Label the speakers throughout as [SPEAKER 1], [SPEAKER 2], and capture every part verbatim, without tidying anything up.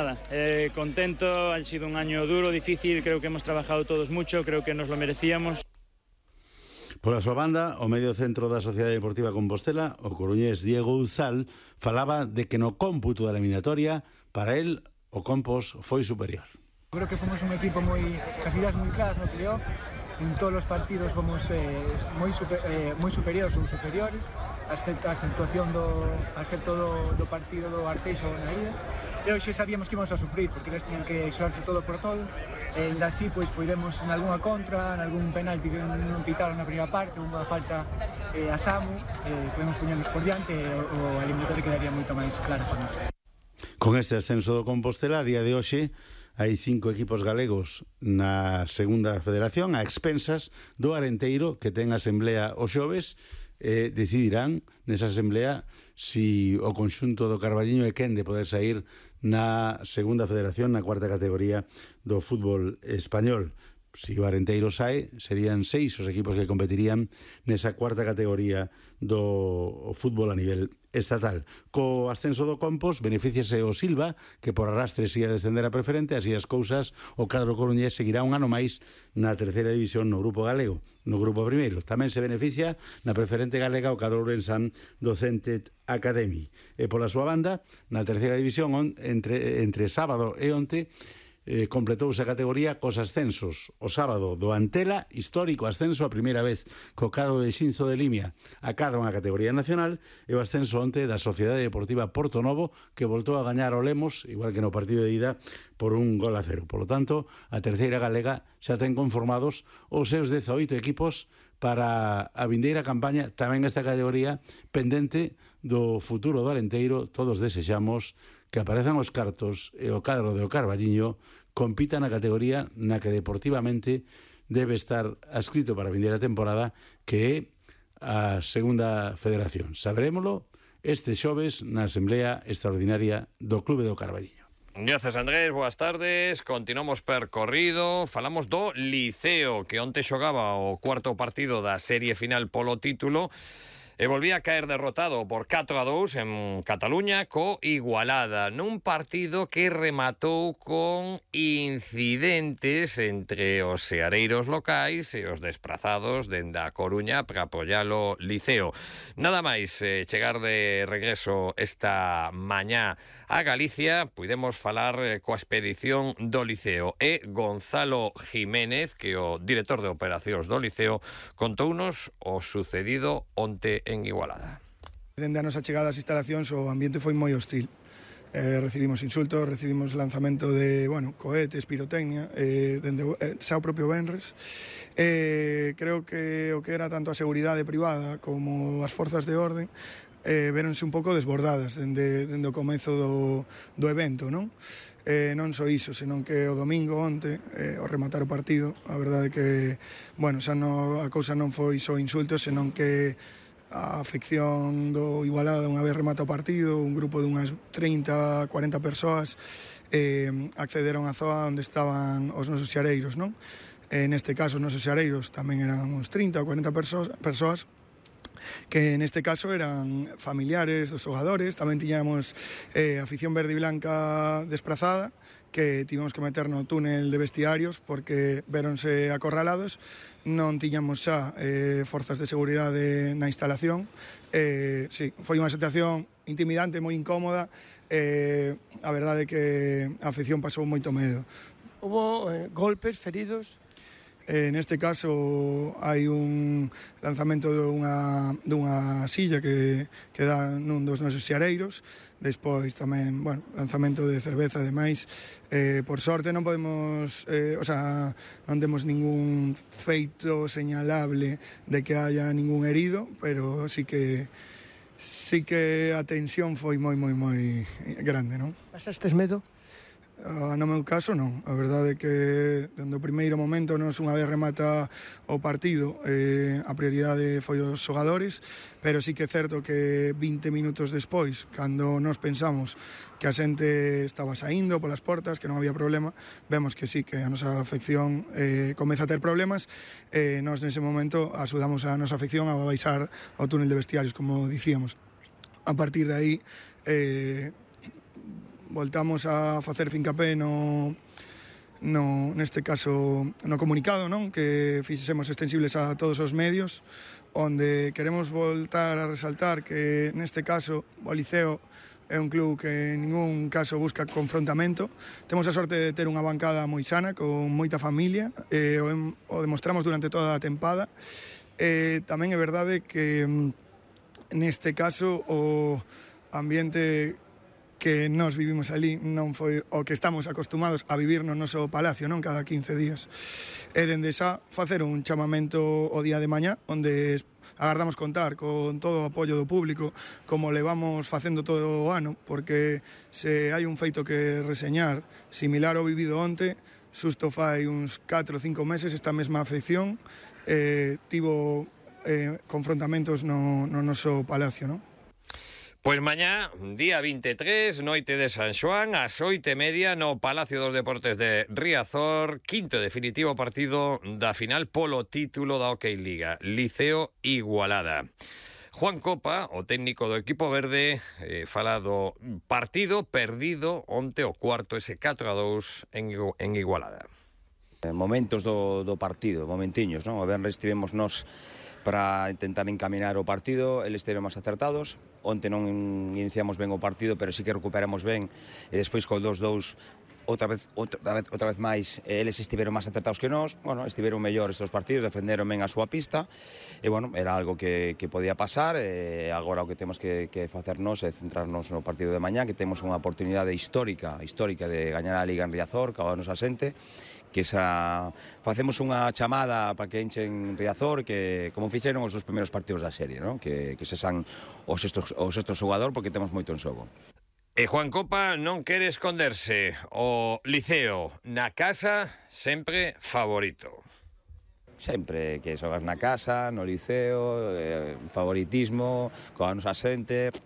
[SPEAKER 1] nada, eh, contento, ha sido un año duro, difícil, creo que hemos trabajado todos mucho, creo que nos lo merecíamos.
[SPEAKER 2] Pola súa banda, o medio centro da Sociedade Deportiva Compostela, o coruñés Diego Uzal, falaba de que no cómputo da eliminatoria, para él, o Compos foi superior.
[SPEAKER 3] Creo que fomos un equipo moi, casi das moi claras no playoff. En todos os partidos fomos eh, moi, super, eh, moi superiores ou superiores, excepto a situación do, excepto do, do partido do Arteixo na ida. E hoxe sabíamos que íbamos a sufrir, porque eles tenían que xogarse todo por todo. E ainda así, pois, poidemos en algunha contra, en algún penalti que non pitaron na primeira parte, unha falta eh, a Samu, eh, podemos poñernos por diante e o, o eliminatorio quedaría moito máis claro para nós.
[SPEAKER 2] Con este ascenso do Compostela, a día de hoxe, hai cinco equipos galegos na segunda federación a expensas do Arenteiro, que ten asemblea os xoves, e decidirán nesa asemblea si o conxunto do Carballiño é quen de poder sair na segunda federación, na cuarta categoría do fútbol español. Si o Arenteiro sae, serían seis os equipos que competirían nesa cuarta categoría do fútbol a nivel estatal. Co ascenso do Compos, beneficiase o Silva, que por arrastre siga a descender a preferente, así as cousas, o cadro coruñés seguirá un ano máis na terceira división no grupo galego, no grupo primeiro. Tamén se beneficia na preferente galega o cadro ourensán do Centet Academy. E pola súa banda, na terceira división, on, entre, entre sábado e onte, Eh, completouse a categoría cos ascensos. O sábado do Antela, histórico ascenso a primeira vez co cadro de Xinzo de Limia a cada unha categoría nacional, e o ascenso onte da Sociedade Deportiva Porto Novo, que voltou a gañar o Lemos, igual que no partido de ida, por un gol a cero. Por lo tanto, a terceira galega xa ten conformados os seus dezaoito equipos para a vindeira campaña, tamén esta categoría pendente do futuro do Arenteiro. Todos desexamos que aparezan os cartos e o cadro do Carballiño compita na categoría na que deportivamente debe estar adscrito para a vindeira temporada, que é a segunda federación. Saberémolo este xoves na Asamblea Extraordinaria do Clube do Carballiño.
[SPEAKER 4] Gracias, Andrés, boas tardes. Continuamos percorrido. Falamos do Liceo, que onte xogaba o cuarto partido da serie final polo título e volvía a caer derrotado por catro a dous en Cataluña co Igualada, nun partido que rematou con incidentes entre os seareiros locais e os desprazados dende a Coruña para apoialo Liceo. Nada máis eh, chegar de regreso esta mañá a Galicia, puidemos falar eh, coa expedición do Liceo, e Gonzalo Jiménez, que o director de operacións do Liceo, contounos o sucedido onte en Igualada.
[SPEAKER 5] Dende a nosa chegada ás instalacións o ambiente foi moi hostil. Eh, recibimos insultos, recibimos lanzamento de, bueno, cohetes, pirotecnia, eh, dende eh, xa o propio venres. Eh, creo que o que era tanto a seguridade privada como as forzas de orden eh, véronse un pouco desbordadas dende, dende o comezo do, do evento, non? Eh, non só iso, senón que o domingo onte, eh, ao rematar o partido, a verdade que, bueno, xa no, a cousa non foi só insultos, senón que a afección do Igualada, unha vez remata o partido, un grupo de unhas trinta, cuarenta persoas eh, accederon á zoa onde estaban os nosos xareiros, non? Eh, neste caso, os nosos xareiros tamén eran uns trinta ou cuarenta persoas, persoas que neste caso eran familiares dos xogadores. Tamén tiñamos eh, afición verde e blanca desprazada, que tivemos que meter no túnel de vestiarios porque véronse acorralados. Non tiñamos xa eh, forzas de seguridade na instalación. Eh, sí, foi unha situación intimidante, moi incómoda. Eh, a verdade é que a afición pasou moito medo.
[SPEAKER 6] Hubo eh, golpes, feridos?
[SPEAKER 5] Eh, neste caso hai un lanzamento dunha, dunha silla que, que dá nun dos nosos xareiros. Despois tamén, bueno, lanzamento de cerveza e demais. Eh, por sorte non podemos, eh, o sea, non temos ningún feito señalable de que haya ningún herido, pero sí que sí que a tensión foi moi, moi, moi grande, non?
[SPEAKER 6] Pasastes medo?
[SPEAKER 5] Uh, no meu caso non, a verdade é que dende o primeiro momento nos unha vez remata o partido eh, a prioridade foi os xogadores, pero sí que é certo que vinte minutos despois, cando nos pensamos que a xente estaba saindo polas portas, que non había problema, vemos que sí, que a nosa afección eh, comeza a ter problemas, e eh, nos nese momento axudamos a nosa afección a baixar ao túnel de vestiarios, como dicíamos. A partir de aí eh, voltamos a facer fincapé no, no, neste caso no comunicado, non? Que fixemos extensibles a todos os medios, onde queremos voltar a resaltar que neste caso o Liceo é un club que en ningún caso busca confrontamento. Temos a sorte de ter unha bancada moi sana, con moita familia, e o, o demostramos durante toda a tempada. E tamén é verdade que neste caso o ambiente que nós vivimos ali non foi o que estamos acostumados a vivir no noso palacio, non, cada quince días. E dende xa facer un chamamento o día de mañá, onde agardamos contar con todo o apoio do público, como levamos facendo todo o ano, porque se hai un feito que reseñar similar ao vivido onte, xusto fai uns catro ou cinco meses esta mesma afección eh, tivo eh, confrontamentos no, no noso palacio, non?
[SPEAKER 4] Pois mañá, día vinte e tres, noite de San Xoán, ás oito e media no Palacio dos Deportes de Riazor, quinto e definitivo partido da final polo título da Hockey Liga, Liceo Igualada. Juan Copa, o técnico do equipo verde, eh, fala do partido perdido onte o cuarto, ese catro a dous en, en Igualada.
[SPEAKER 7] Momentos do, do partido, momentiños, non? O venres tivemos nos para intentar encaminar o partido, eles estiveron máis acertados. Onte non iniciamos ben o partido, pero sí que recuperamos ben, e despois co dos dous outra vez, outra vez, outra vez máis, eles estiveron máis acertados que nós. Bueno, estiveron mellores os partidos, defenderon ben a súa pista, e bueno, era algo que, que podía pasar, e agora o que temos que, que facernos é centrarnos no partido de mañá, que temos unha oportunidade histórica, histórica de gañar a Liga en Riazor, que agora nos asente, que esa facemos unha chamada para que enchen Riazor, que como fixeron os dos primeiros partidos da serie, ¿no? que, que se san o sexto, o sexto xogador, porque temos moito en xogo.
[SPEAKER 4] E Juan Copa non quere esconderse. O Liceo na casa sempre favorito.
[SPEAKER 7] Sempre que xogas na casa, no Liceo, eh, favoritismo, coa nosa xente.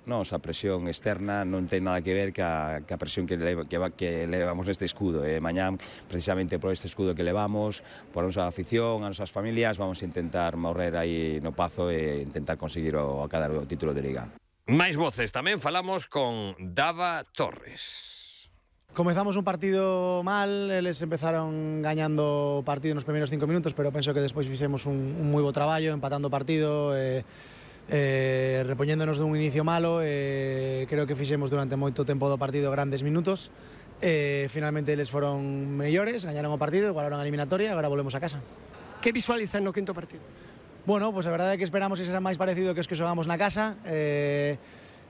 [SPEAKER 7] Nos, a presión externa non ten nada que ver ca, ca presión que, leva, que, que levamos neste escudo. E mañán, precisamente por este escudo que levamos, por a nosa afición, as nosas familias, vamos a intentar morrer aí no Pazo e intentar conseguir o, acadar o título de Liga.
[SPEAKER 4] Máis voces, tamén falamos con Dava Torres.
[SPEAKER 8] Comezamos un partido mal, eles empezaron gañando o partido nos primeiros cinco minutos, pero penso que despois fixemos un, un moi bo traballo, empatando o partido, e... Eh, repoñéndonos dun inicio malo, eh, creo que fixemos durante moito tempo do partido grandes minutos, eh, finalmente eles foron mellores, gañaron o partido, igualaron a eliminatoria e agora volvemos a casa.
[SPEAKER 6] Que visualizan no quinto partido?
[SPEAKER 8] Bueno, pues a verdade é que esperamos que será máis parecido que os que xogamos na casa. eh,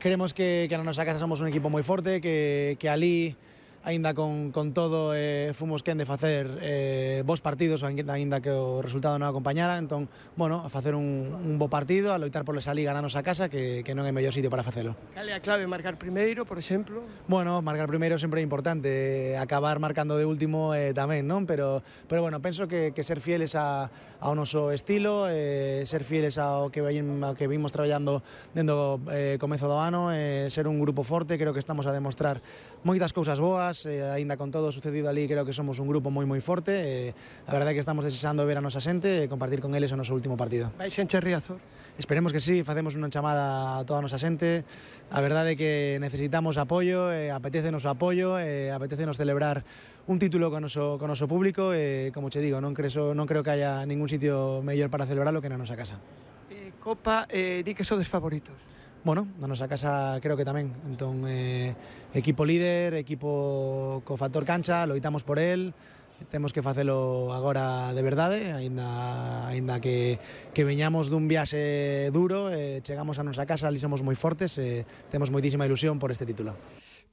[SPEAKER 8] Queremos que, que na nosa casa somos un equipo moi forte, que, que ali aínda con, con todo eh, fomos quen de facer eh, bons partidos, aínda que o resultado non acompañara. Entón, bueno, a facer un, un bo partido, a loitar por esa liga na nosa casa, que, que non é mellor sitio para facelo.
[SPEAKER 6] Cal é a clave? Marcar primeiro, por exemplo?
[SPEAKER 8] Bueno, marcar primeiro sempre é importante, acabar marcando de último eh, tamén, non? Pero, pero bueno, penso que, que ser fieles a, ao noso estilo, eh, ser fieles ao que, ao que vimos traballando dentro do eh, comezo do ano, eh, ser un grupo forte, creo que estamos a demostrar moitas cousas boas. Eh, aínda con todo o sucedido ali, creo que somos un grupo moi moi forte, e eh, a verdade é que estamos desexando ver a nosa xente e compartir con eles o noso último partido.
[SPEAKER 6] Vai xencher Riazor?
[SPEAKER 8] Esperemos que sí, facemos unha chamada a toda a nosa xente. A verdade é que necesitamos apoio, e apetece noso apoio, e apetece nos celebrar un título con noso, con noso público, e como che digo, non creo, non creo que haya ningún sitio mellor para celebrarlo que na nosa casa.
[SPEAKER 6] Eh, Copa, eh, di que sodes favoritos?
[SPEAKER 8] Bueno, na nosa casa creo que tamén. Entón, eh, equipo líder, equipo co factor cancha, loitamos por el, temos que facelo agora de verdade, aínda, aínda que, que veñamos dun viaxe duro, eh, chegamos a nosa casa, ali somos moi fortes, e eh, temos moitísima ilusión por este título.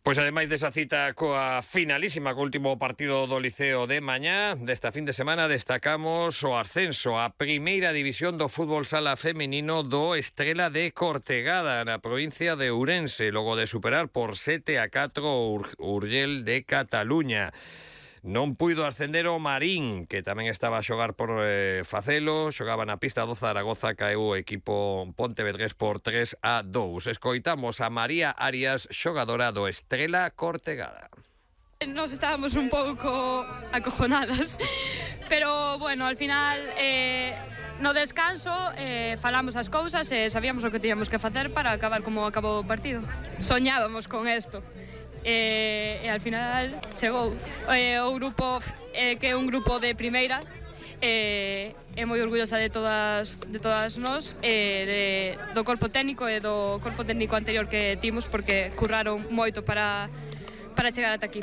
[SPEAKER 4] Pois ademais desa cita coa finalísima co último partido do Liceo de mañá, desta fin de semana destacamos o ascenso a primeira división do fútbol sala feminino do Estrela de Cortegada na provincia de Ourense, logo de superar por sete a catro o Urgell de Cataluña. Non puido ascender o Marín, que tamén estaba a xogar por eh, facelo, xogaba na pista do Zaragoza, caeu o equipo pontevedrés por tres a dous. Escoitamos a María Arias, xogadora do Estrela Cortegada.
[SPEAKER 9] Nos estábamos un pouco acojonadas, pero bueno, al final eh, no descanso eh, falamos as cousas e sabíamos o que tíamos que facer para acabar como acabou o partido. Soñábamos con isto. e, e al final chegou. E, o grupo eh, que é un grupo de primeira, e é moi orgullosa de todas de todas nós, e de, do corpo técnico e do corpo técnico anterior que timos, porque curraron moito para, para chegar ata aquí.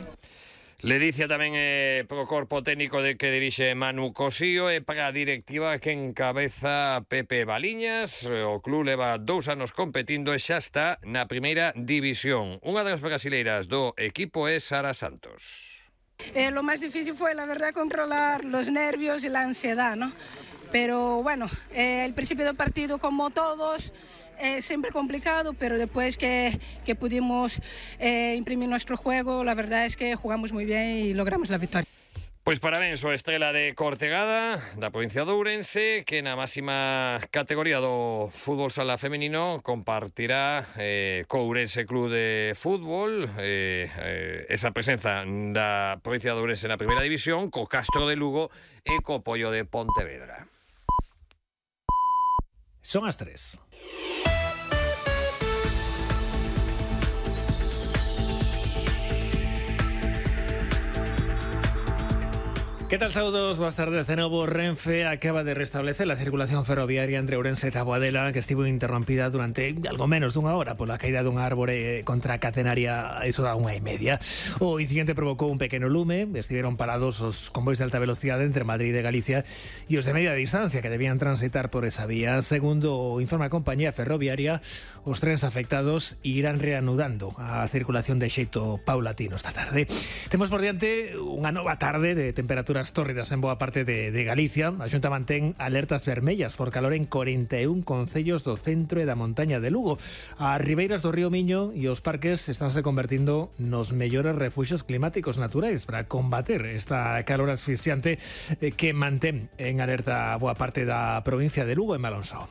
[SPEAKER 4] Ledicia tamén é pro corpo técnico de que dirixe Manu Cosío e para a directiva que encabeza Pepe Baliñas. O club leva dous anos competindo e xa está na primeira división. Unha das brasileiras do equipo é Sara Santos.
[SPEAKER 10] Eh, lo más difícil fue, la verdad, controlar los nervios y la ansiedad, ¿no? Pero bueno, eh, el principio del partido, como todos, es siempre complicado, pero después que, que pudimos eh, imprimir nuestro juego, la verdad es que jugamos muy bien y logramos la victoria.
[SPEAKER 4] Pois parabéns ao Estrela de Cortegada, da provincia de Ourense, que na máxima categoría do fútbol sala femenino compartirá eh, co Ourense Club de Fútbol eh, eh, esa presenza da provincia de Ourense na primeira división, co Castro de Lugo e co Pollo de Pontevedra.
[SPEAKER 11] Son as tres. ¿Qué tal? Saludos, buenas tardes. De nuevo, Renfe acaba de restablecer la circulación ferroviaria entre Ourense e Taboadela, que estivo interrompida durante algo menos dunha hora pola caída dun árbore contracatenaria a iso da unha e media. O incidente provocou un pequeno lume, estiveron parados os convois de alta velocidade entre Madrid e Galicia e os de media distancia que debían transitar por esa vía. Segundo informa a compañía ferroviaria, os trens afectados irán reanudando a circulación de xeito paulatino esta tarde. Temos por diante unha nova tarde de temperatura tórridas en boa parte de, de Galicia. A Xunta mantén alertas vermellas por calor en corenta e un concellos do centro e da montaña de Lugo. As ribeiras do río Miño e os parques estánse convertindo nos mellores refuxios climáticos naturais para combater esta calor asfixiante que mantén en alerta boa parte da provincia de Lugo e Malonso.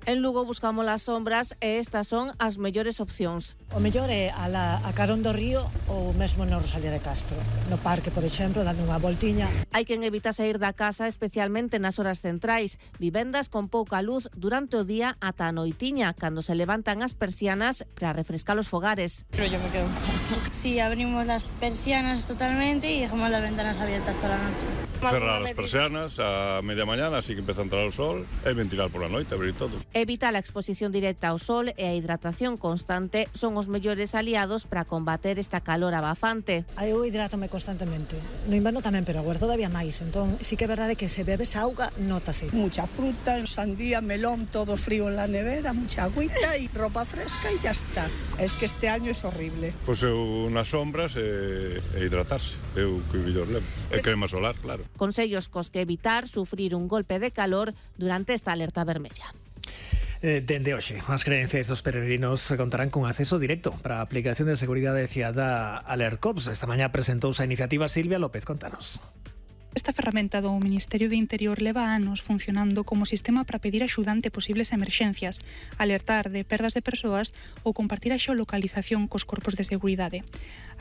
[SPEAKER 12] En Lugo buscamos las sombras e estas son as mellores opcións.
[SPEAKER 13] O mellor é a, la, a carón do río ou mesmo no Rosalía de Castro. No parque, por exemplo, dando unha voltiña.
[SPEAKER 12] Hai quen evita sair da casa, especialmente nas horas centrais. Vivendas con pouca luz durante o día ata a noitiña, cando se levantan as persianas para refrescar os fogares.
[SPEAKER 14] Pero yo me quedo en casa. Sí, abrimos las persianas totalmente y dejamos las ventanas abiertas toda la noche.
[SPEAKER 15] Cerrar as persianas a media mañana, así que empeza a entrar o sol, e ventilar por la noite, abrir todo.
[SPEAKER 12] Evitar a exposición directa ao sol e a hidratación constante son os mellores aliados para combater esta calor abafante.
[SPEAKER 13] Eu hidrátome constantemente. No inverno tamén, pero agora todavía máis. Entón, sí que é verdade que se bebes auga, nótase.
[SPEAKER 16] Mucha fruta, sandía, melón, todo frío en la nevera, mucha agüita y ropa fresca y ya está. Es que este año es horrible.
[SPEAKER 15] Pois eu nas sombras e, e hidratarse. Eu que mellor levo. E crema solar, claro.
[SPEAKER 12] Consellos cos que evitar sufrir un golpe de calor durante esta alerta vermella.
[SPEAKER 11] Eh, dende hoxe, as creencias dos peregrinos contarán con acceso directo para a aplicación de seguridade fiada Alercops. Esta mañá presentouse a iniciativa. Silvia López, contanos.
[SPEAKER 17] Esta ferramenta do Ministerio de Interior leva anos funcionando como sistema para pedir axuda ante posibles emerxencias, alertar de perdas de persoas ou compartir a xeolocalización cos corpos de seguridade.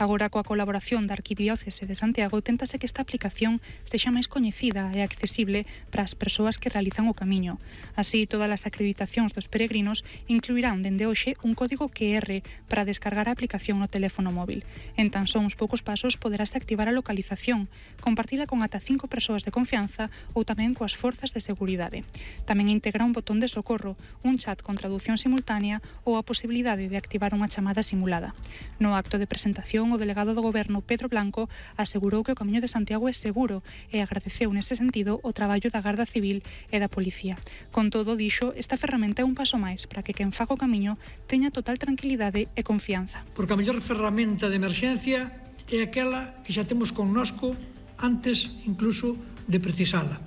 [SPEAKER 17] Agora, coa colaboración da Arquidiócese de Santiago, téntase que esta aplicación sexa máis coñecida e accesible para as persoas que realizan o camiño. Así, todas as acreditacións dos peregrinos incluirán dende hoxe un código Q R para descargar a aplicación no teléfono móvil. En tan só uns poucos pasos poderase activar a localización, compartila con ata cinco persoas de confianza ou tamén coas forzas de seguridade. Tamén integra un botón de socorro, un chat con traducción simultánea ou a posibilidade de activar unha chamada simulada. No acto de presentación, o delegado do Goberno, Pedro Blanco, asegurou que o Camiño de Santiago é seguro e agradeceu nese sentido o traballo da Garda Civil e da Policía. Con todo, dixo, esta ferramenta é un paso máis para que quen faga o camiño teña total tranquilidade e confianza.
[SPEAKER 18] Porque a mellor ferramenta de emerxencia é aquela que xa temos connosco antes incluso de precisala.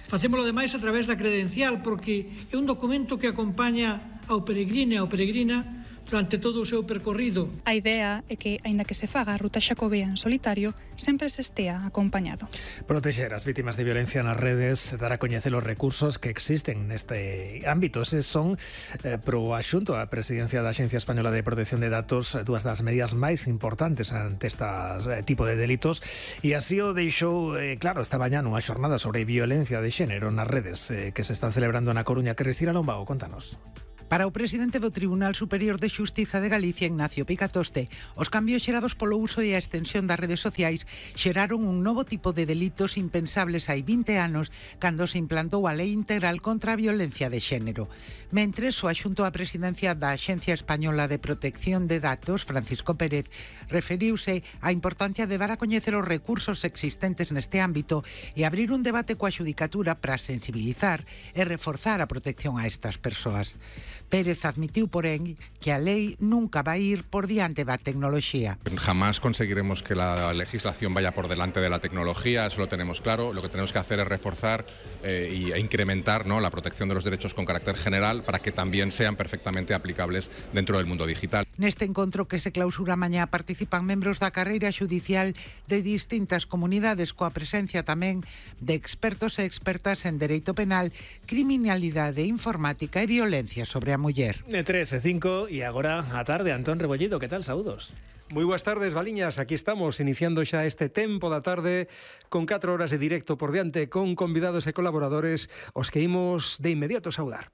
[SPEAKER 18] Facémolo ademais a través da credencial, porque é un documento que acompaña ao peregrino e ao peregrina durante todo o seu percorrido.
[SPEAKER 17] A idea é que, aínda que se faga a ruta xacobea en solitario, sempre se estea acompañado.
[SPEAKER 11] Protexer as vítimas de violencia nas redes, dar a coñecer os recursos que existen neste ámbito. Eses son, eh, pro axunto a Presidencia da Axencia Española de Protección de Datos, dúas das medidas máis importantes ante este eh, tipo de delitos, e así o deixou eh, claro esta mañá nunha xornada sobre violencia de xénero nas redes eh, que se están celebrando na Coruña. Cristina Lombao, contanos.
[SPEAKER 19] Para o presidente do Tribunal Superior de Xustiza de Galicia, Ignacio Picatoste, os cambios xerados polo uso e a extensión das redes sociais xeraron un novo tipo de delitos impensables hai vinte anos cando se implantou a Lei Integral contra a Violencia de Xénero. Mentres, o adxunto á presidencia da Axencia Española de Protección de Datos, Francisco Pérez, referiuse á importancia de dar a coñecer os recursos existentes neste ámbito e abrir un debate coa xudicatura para sensibilizar e reforzar a protección a estas persoas. Pérez admitiu, porén, que a lei nunca vai ir por diante da tecnoloxía.
[SPEAKER 20] Jamás conseguiremos que la legislación vaya por delante de la tecnología, eso lo tenemos claro. Lo que tenemos que hacer es reforzar eh, y, e incrementar, ¿no?, la protección de los derechos con carácter general para que también sean perfectamente aplicables dentro del mundo digital.
[SPEAKER 19] Neste encontro que se clausura mañá participan membros da carreira xudicial de distintas comunidades coa presencia tamén de expertos e expertas en dereito penal, criminalidade informática e violencia sobre a muller.
[SPEAKER 11] De tres e cinco e agora a tarde, Antón Rebollido, que tal? Saúdos.
[SPEAKER 21] Moi boas tardes, Valiñas. Aquí estamos, iniciando xa este tempo da tarde con catro horas de directo por diante, con convidados e colaboradores os que imos de inmediato saudar.